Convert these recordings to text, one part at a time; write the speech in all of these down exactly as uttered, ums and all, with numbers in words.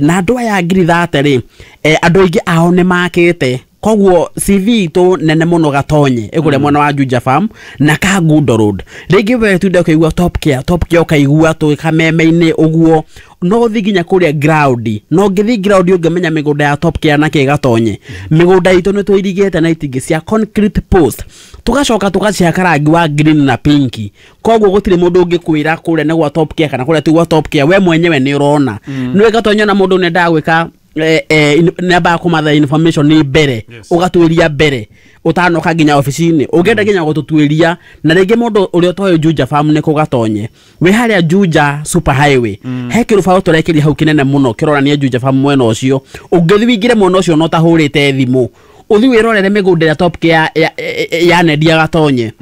Na andũ aya ngiri thate rĩ, andũ aingĩ ao nĩ makĩte, koguo C V itũ nene mũno Gatonye ĩkũrĩa mwena wa Juja Farm na Kangundo Road. Rĩngĩ we tunda ũkaigua Top Care, Top Care ũkaigua tũ kameme-inĩ ũguo, no ũthiĩ nginya kũrĩa ground, no ũngĩthiĩ ground ũngĩmenya mĩgũnda ya Top Care na kĩ Gatonye. Mĩgũnda itũ nĩ tũirigĩte na itingĩ cia concrete post, tũgacoka tũgacihaka rangi wa green na pink, koguo gũtirĩ mũndũ ũngĩkwĩra kũrĩa nĩ gwa Top Care kana kũrĩa ti gwa Top Care, we mwenyewe nĩ ũrona. Nĩ Gatonye na mũndũ nĩ gwĩka eh, eh, nĩ ambaga kũmatha information nĩ mbere. Yes. Ũgatuĩria mbere ũtanoka nginya obici-inĩ, ũngĩenda nginya gũtũtuĩria. Na rĩngĩ mũndũ ũrĩa ũtoĩ Juja Farm nĩ kũ Gatonye, wĩ harĩa Juja Super Highway, he kĩrũbaũ tũrekĩria hau kĩnene mũno kĩronania Juja Farm mwena ũcio. Ũngĩthiĩ wĩingĩre mwena ũcio na ũtahũrĩte thimũ, ũthiĩ wĩrorere mĩgũnda ĩrĩa Top Care ya- ya- yanendia Gatonye.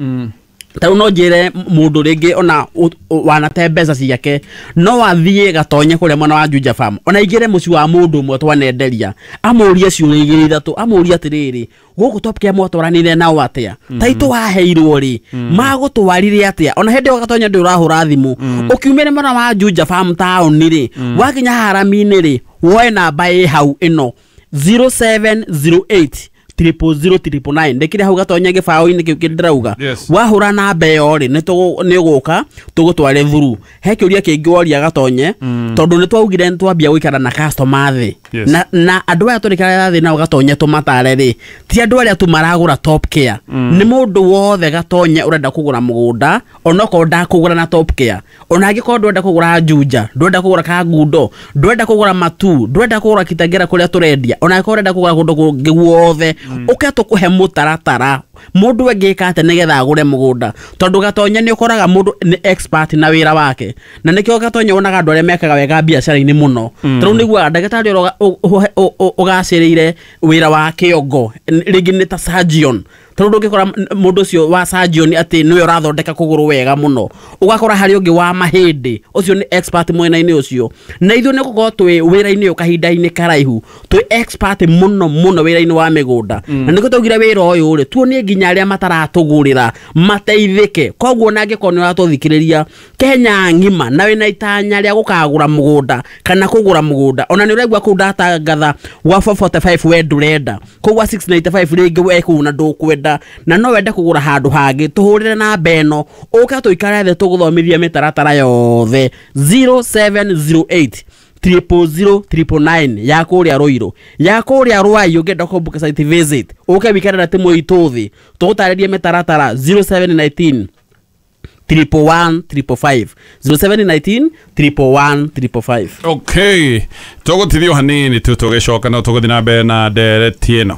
Ta rĩu no njĩre mũndũ rĩngĩ ona ũ- ũ- wanate mbeca ciake, no athiĩ Gatonye kũrĩa mwena wa Juja Farm, ona aingĩre mũciĩ wa mũndũ ũmwe twanenderia, amũrie ciũria igĩrĩ ithatũ, amũrie atĩrĩrĩ, gũkũ Top Care mwatwaranire nao atĩa, taitũ waheirwo rĩ, magũtwarire atĩa? Ona hĩndĩ ĩyo Gatonye ndĩ ũrahũra thimũ, ũkiumĩre mwena wa Juja Farm taũni rĩ, wakinya harami-inĩ rĩ, woe namba ĩ hau ĩno zero seven zero eight triple zero triple nine, ndĩkĩrĩ hau Gatonye gĩbaũ-inĩ kĩu kĩndĩrauga. Yes. Wahũra namba ĩyo rĩ, nĩ tũgũ- nĩ ũgũka tũgũtware thuru. He kĩũria kĩngĩ woria Gatonye, tondũ nĩ twaugire nĩ twambia gũikara na customer thĩ. Yes. na, na andũ aya tũrĩkara thĩ nao Gatonye tũmatare rĩ, ti andũ arĩa tu maragũra Top Care, nĩ mũndũ wothe Gatonye ũrenda kũgũra mũgũnda, onokorwo ndakũgũra na Top Care, ona angĩkorwo ndwenda kũgũra Juja, ndwenda kũgũra Kangundo, ndwenda kũgũra Matu, ndwenda kũgũra Kitengela kũrĩa tũrendia, ona angĩkorwo ũrenda kũgũra kũndũ kũngĩ guothe, ũke tũkũhe mũtaratara mũndũ angĩka atĩa nĩgetha agũre mũgũnda, tondũ Gatonye nĩ ũkoraga mũndũ nĩ expert na wĩra wake, na nĩkĩo Gatonye wonaga andũ arĩa mekaga wega biacara-inĩ mũno. Tarĩu nĩguaga ndagĩtarĩ ũrĩa ũga- ũ- ũ- ũ- ũgacĩrĩire wĩra wa kĩongo rĩngĩ nĩ ta surgeon, tondũ ndũngĩkora m- mũndũ ũcio wa surgeon atĩ nĩwe ũrathondeka kũgũrũ wega mũno, ũgakora harĩ ũngĩ wa mahĩndĩ, ũcio nĩ expert mwena-inĩ ũcio. Na ithuĩ nĩ gũkorwo twĩ wĩra-inĩ ũyũ kahinda-inĩ karaihu, twĩ expert mũno mũno wĩra-inĩ wa mĩgũnda, na nĩkĩo twaugire wĩra ũyũ rĩ tuonie nginya arĩa mataratũgũrĩra mateithĩke. Koguo na angĩkorwo nĩ ũratũthikĩrĩria Kenya ng'ima na wĩna itanya rĩa gũkagũra mũgũnda kana kũgũra mũgũnda, ona nĩ ũraigua kũu ndatangatha gwa four forty-five we ndũrenda, kũu gwa six ninety-five rĩngĩ we kũu na ndũkwenda na no wende kũgũra handũ hangĩ, tũhũrĩre namba ĩno, ũke tũikare thĩ tũgũthomithie mĩtaratara yothe, zero seven zero eight triple zero triple nine ya kũrĩa Rũirũ, ya kũrĩa Rwai. Ũngĩenda kũbook site visit, ũke wikare na timu itũ thĩ tũgũtarĩrie mĩtaratara, zero seven nineteen triple one triple five, zero seven nineteen triple one triple five. Okay, tũgũtithio hanini tu, tũgĩcoka no tũgũthiĩ na mbere na ndereti ĩno.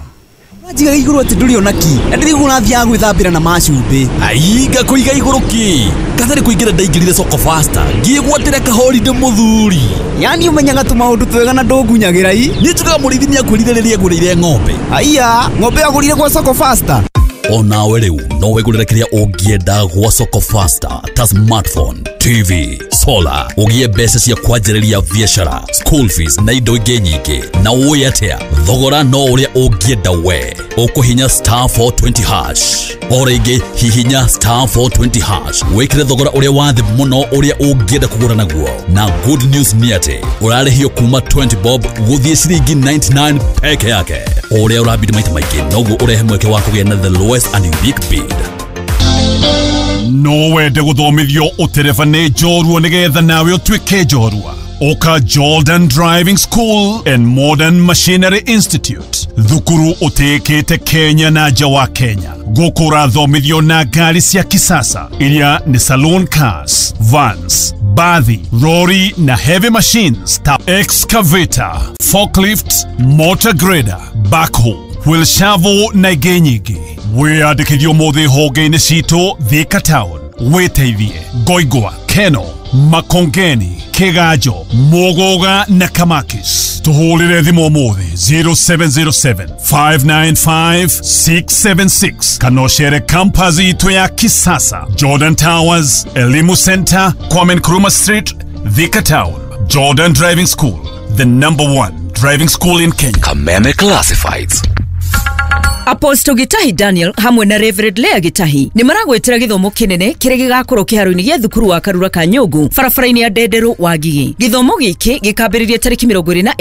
Njigaga igũrũ atĩ ndũrĩ ona ki na ndĩrĩguo ũrathiaga gwĩthambĩra na macumbĩ. Ainga kũiga igũrũ ki katarĩ kũingĩra, ndaingĩrire Soko Fasta ngĩgwatĩra kahorinde mũthuri. Yani ũmenyaga tũmaũndũ twega na ndũngunyagĩra i. Niĩ njugaga mũrĩithi nĩakwĩrire rĩrĩa agũrĩire ng'ombe. Aiya, ng'ombe agũrire gwa Soko Fasta? Onawe rĩu no wĩgũrĩre kĩrĩa ũngĩenda gwa Soko Fasta ta smartphone, T V, solar, ũgĩe mbeca cia kwanjĩrĩria biacara, school fees na indo ingĩ nyingĩ. Na ũĩ atĩa, thogora no ũrĩa ũngĩenda we. Ũkũhinya star four twenty hash, o rĩngĩ hihinya star four twenty hash, wĩkĩre thogora ũrĩa wa thĩ mũno ũrĩa ũngĩenda kũgũra naguo. Na good news nĩ atĩ ũrarĩhio kuma twenty bob gũthiĩ ciringi ninety-nine peke yake. O ũrĩa ũrabidi maita maingĩ, noguo ũrehe mweke wa kũgĩa na the lowest and unique bid. No wende gũthomithio ũtereba nĩ njorua nĩgetha nawe ũtuĩke njorua? Ũka Jordan Driving School and Modern Machinery Institute, thukuru ũtĩĩkĩte Kenya na nja wa Kenya. Gũkũ ũrathomithio na ngari cia kisasa iria nĩ saloon cars, vans, bathi, lori na heavy machines ta excavator, forklift, motor grader, backhoe, wheel shovel na ingĩ nyingĩ. Wĩyandĩkithio ũmũthĩ honge-inĩ citũ Thika Town, wĩteithie Ngoingwa, Keno, Makongeni, Kiganjo, Muguga na Kamakis. Tũhũrĩre thimũ ũmũthĩ zero seven zero seven five nine five six seven six kana ũcere campus itũ ya kisasa, Jordan Towers, Elimu Center, Kwame Nkrumah Street, Thika Town. Jordan Driving School, the number one driving school in Kenya. Kameme Classifieds. Apostle Gitahi Daniel hamwe na Reverend Lea Gitahi nĩ maragwĩtĩra gĩthomo kĩnene kĩrĩa gĩgakorwo kĩharo-inĩ gĩa thukuru wa Karura Kanyũngũ barabara-inĩ ya Ndenderũ Wangigĩ. Gĩthomo gĩkĩ gĩkambĩrĩria tarĩki mĩrongo ĩrĩ na